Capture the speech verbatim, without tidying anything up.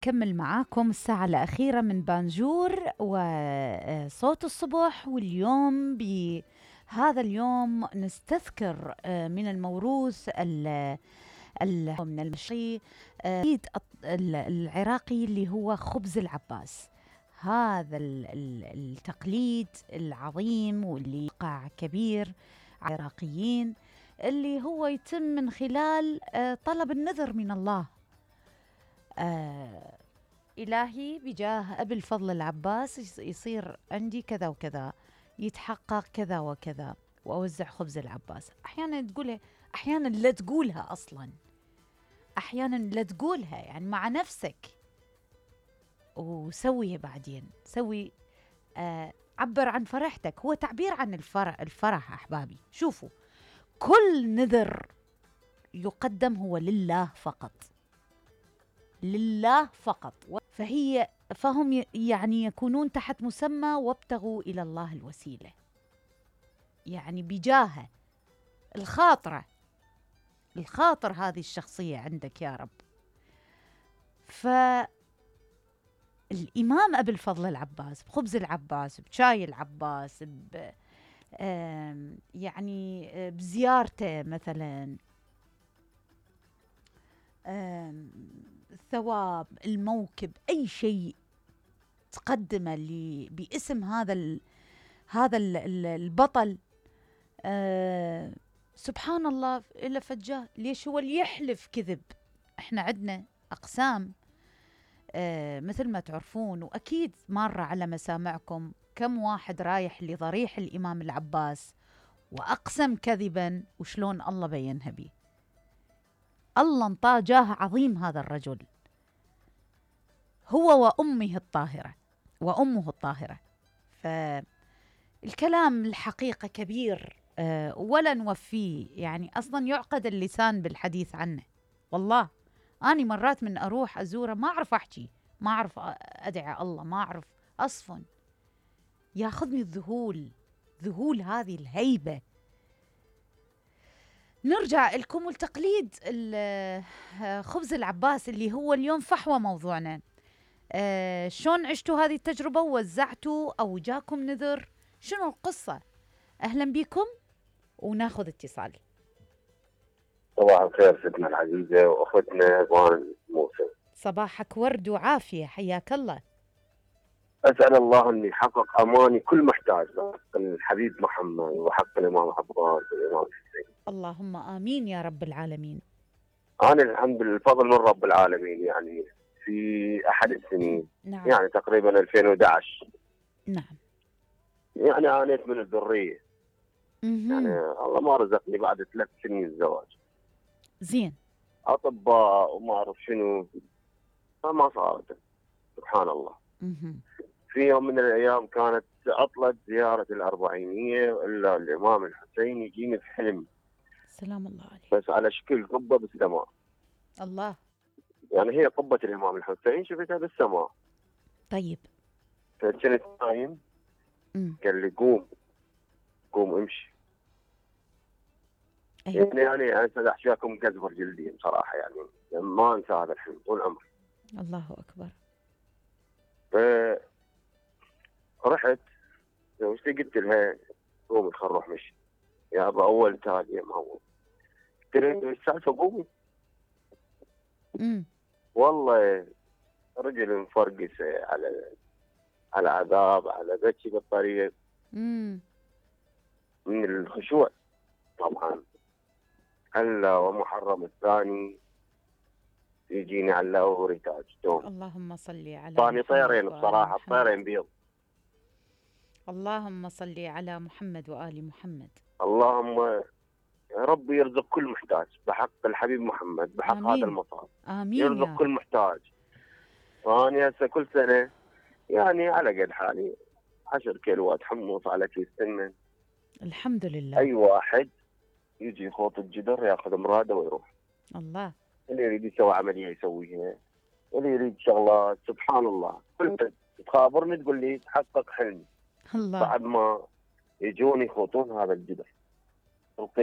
كمل معاكم الساعة الأخيرة من بانجور وصوت الصبح. واليوم بهذا اليوم نستذكر من الموروث من المشي العراقي اللي هو خبز العباس. هذا التقليد العظيم واللي وقع كبير عراقيين، اللي هو يتم من خلال طلب النذر من الله. آه إلهي بجاه أبي الفضل العباس يصير عندي كذا وكذا، يتحقق كذا وكذا، وأوزع خبز العباس. أحيانا تقولها، أحيانا لا تقولها أصلا، أحيانا لا تقولها يعني مع نفسك، وسويها بعدين. سوي آه عبر عن فرحتك، هو تعبير عن الفرح. الفرح أحبابي، شوفوا، كل نذر يقدم هو لله فقط، لله فقط. فهي فهم يعني يكونون تحت مسمى وابتغوا إلى الله الوسيلة، يعني بجاه الخاطرة، الخاطر هذه الشخصية عندك يا رب. فالإمام أبي الفضل العباس بخبز العباس، بشاي العباس، ب يعني بزيارته مثلا، الثواب، الموكب، أي شيء تقدمه لي باسم هذا ال هذا ال البطل. آه سبحان الله، إلا فجاه ليش هو اللي يحلف كذب؟ احنا عندنا أقسام آه مثل ما تعرفون، وأكيد مرة على مسامعكم كم واحد رايح لضريح الإمام العباس وأقسم كذبا، وشلون الله بينها بيه. الله انطاه جاه عظيم هذا الرجل، هو وأمه الطاهرة وأمه الطاهرة. فالكلام الحقيقة كبير أه ولا نوفيه، يعني أصلا يعقد اللسان بالحديث عنه. والله أنا مرات من أروح أزوره ما أعرف أحكي، ما أعرف أدعي الله، ما أعرف أصفن، ياخذني الذهول، ذهول هذه الهيبة. نرجع لكم التقليد خبز العباس اللي هو اليوم فحوى موضوعنا. آه شلون عشتوا هذه التجربة ووزعتوا أو جاكم نذر؟ شنو القصة؟ أهلا بكم وناخذ اتصال. صباح الخير ستنا العزيزة وأختنا وان موسى. صباحك ورد وعافية، حياك الله. أسأل الله أن يحقق أماني كل محتاج حق الحبيب محمد وحق الإمام عباس والإمام حسين. اللهم آمين يا رب العالمين. أنا الحمد لله الفضل من رب العالمين، يعني في أحد السنين نعم. يعني تقريبا ألفين وأحد عشر نعم. يعني عانيت من الذرية. مم. يعني الله ما رزقني بعد ثلاث سنين زواج. زين. أطباء وما أعرف شنو، فما صارت. سبحان الله. مم. في يوم من الأيام كانت عطلة زيارة الأربعينية، إلا الإمام الحسين يجيني في حلم. سلام الله عليه. بس على شكل قبة بالسماء. الله. يعني هي قبة الإمام الحسين شفتها بالسماء. طيب. فكنت نايم، قال لي قوم قوم امشي. أيوة. يعني يعني أنا أحشاكم قزبر جلدي بصراحة، يعني ما أنسى هذا الحلم طول عمري. الله أكبر. فرحت زوجتي قلت لها قومي خل نروح مشي يا أبا، أول تالي ما هو. قلت لها السالفة قومي. امم والله رجل مفرقس على على عذاب، على بكي بالطريق. امم من الخشوع طبعا. هلا ومحرم الثاني يجيني على وريتاج دوم. اللهم صل على ثاني طيرين بصراحة، طيرين بيض. اللهم صل على محمد وآل محمد. اللهم ربي يرزق كل محتاج بحق الحبيب محمد، بحق آمين. هذا المصاب آمين. يرزق كل محتاج. فأنا هسه كل سنة يعني على قد حالي عشر كيلوات حمص على كيس سمن. الحمد لله. أي واحد يجي يخوط الجدر ياخذ مراده ويروح. الله. اللي يريد يسوي عملية يسويها، اللي يريد شغلات. سبحان الله. كنت تخابرني تقول لي تحقق حلمي. الله. بعد ما يجون يخوطون هذا الجدر